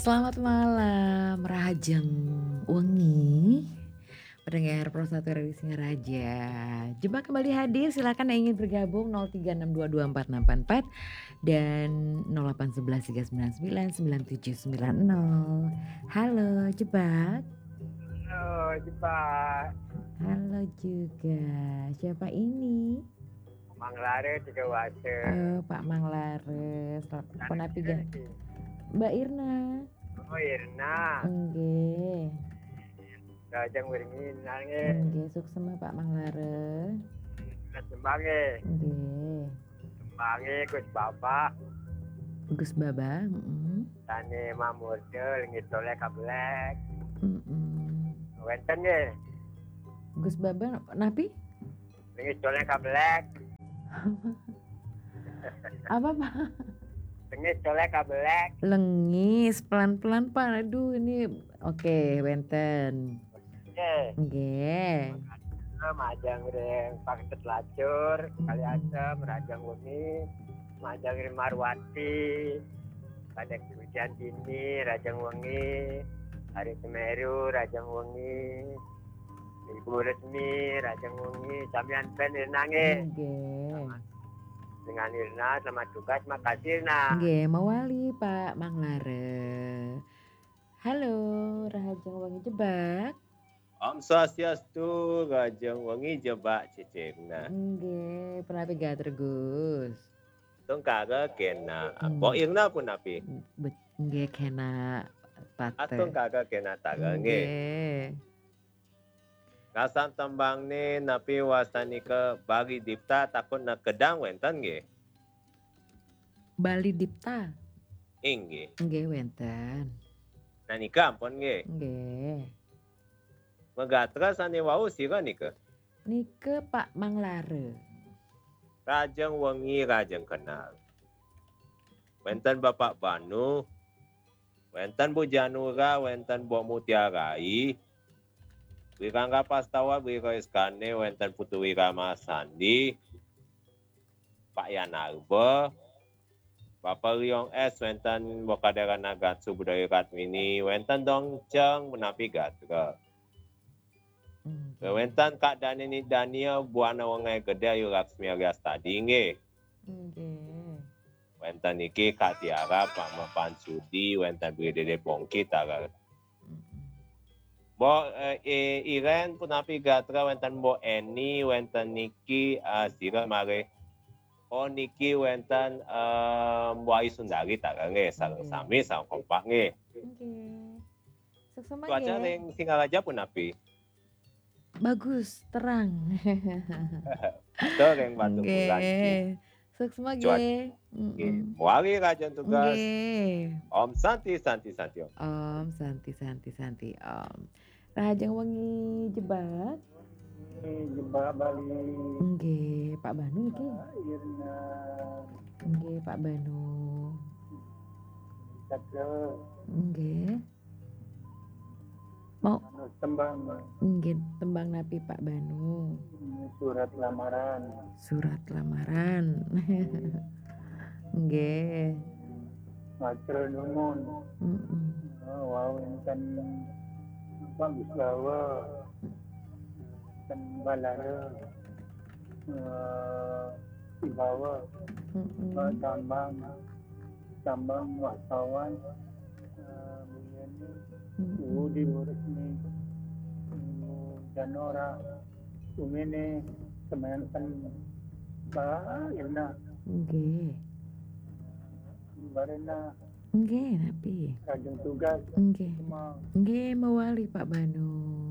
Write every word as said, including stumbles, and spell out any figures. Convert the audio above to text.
Selamat malam, rahajeng wengi. Pendengar Pro satu Radio Singaraja. Jebak kembali hadir, silakan yang ingin bergabung, nol tiga enam dua dua empat enam empat empat dan nol delapan sebelas tiga sembilan sembilan sembilan tujuh sembilan nol. Halo, Jebak. Halo, Jebak. Halo juga. Siapa ini? Mang Lare tiga wase. Eh, Pak Mang Lares. Punapi ga? Mbak Irna. Oh, Irna. Nggih. Rahajeng wengi, Irna nggih. Nggih, suksma Pak Mang Lare. Mas Jembang nggih. Nggih. Jembange Gus Bapak. Gus Baba, heeh. Tane Mamurda, Lengit Toleh Kabelek. Heeh. Wenten nggih. Gus Baba napi? Lengit Toleh Kabelek. Apa, Pak? Lengit Toleh Kabelek. Lengis, pelan-pelan, Pak. Aduh, ini oke, wenten. Nggih. Nggih. Majeng ring Paketet Lacur, Kali Asem, rahajeng wengi, majeng ring Marwati, Kadek Widiantini, rahajeng wengi, Hari Semeru, rahajeng wengi, Ibu Resmi, rahajeng wengi, samian pen Irna nggih. Nggih. Dengan Irna, selamat tugas, makasih Irna. Nggih, mawali Pak Mang Lare. Halo, rahajeng wengi Jebak. Om Swastiastu, rahajeng wengi Jebak Cicingna. Nggih, punapi gatra Gus? Tungkara kena. Hmm. Bo Irna punapi? Bet-, nggih kena Ah, pate. Tungkara kena tara nggih. Nggih. Rasan tembangne napi wastanika Bali Dipta takut na kedang wenten nggih. Bali Dipta. Inggih. Nggih wenten. Nah nika ampun nggih. Nggih. Magatra sane wau sira nika? Nika Pak Mang Lare. Rahajeng wengi, rahajeng kenal. Wenten Bapak Banu, wenten Bu Janura, wenten Bu Mutiarai, Wirangga Pastawa, Wira Iskane, wenten Putu Wirama Sandi, Pak Yanarba, Bapak Riong S, wenten Bokaderana Gatsu Budaya Ratmini, wenten Dongceng, menapi gatra. Hmm. Wenten Kak Danini Dania, Buana Wengai Gede, Ayu Laksmi Aryastadi nggih. Nggih. Wenten niki Kak Tiara, Pak Mapan Sudi, wenten Bri Dede Pongki, tara. Mm-mm. Bo, eh, eh, Iren punapi gatra, wenten Bo Eni, wenten niki, ah, sira mare. Oh, niki wenten, eh, Bo Ayu Sundari, tara nggih, sareng Nggih. Sami, sareng kompak nggih. Nggih. Suksma Cuaca nggih. ring Singaraja punapi? Bagus, terang. Ada ring Batu Bulan niki. Nggih. Suksma Cuaca nggih. Nggih. Mm-mm. Mawali rahajeng tugas. Nggih. Om Santi, Santi, Santi Om. Om Santi, Santi, Santi Om. Rahajeng wengi Jebak. Jebak Bali. Nggih, Pak Banu niki. Irna. Nggih, Pak Banu. Cakra. Nggih. Mau Manus tembang. Nggih, tembang napi Pak Banu? Surat lamaran. Surat lamaran. Nggih. Matur nuwun. Mm-mm. Oh, wau wenten Pak Wisbawa. Wenten Balara. Eh, Sibawa. Mm-mm. Pak Tambang. Tambang wartawan. Eh, Bu Yeni. Mm-mm. Bu Di Bu Resmi. Bu Janora. Umene. Semanten. Pak Irna. Nggih. Barena. Nggih, napi? Rahajeng tugas. Nggih. Semua. Nggih, mawali Pak Banu.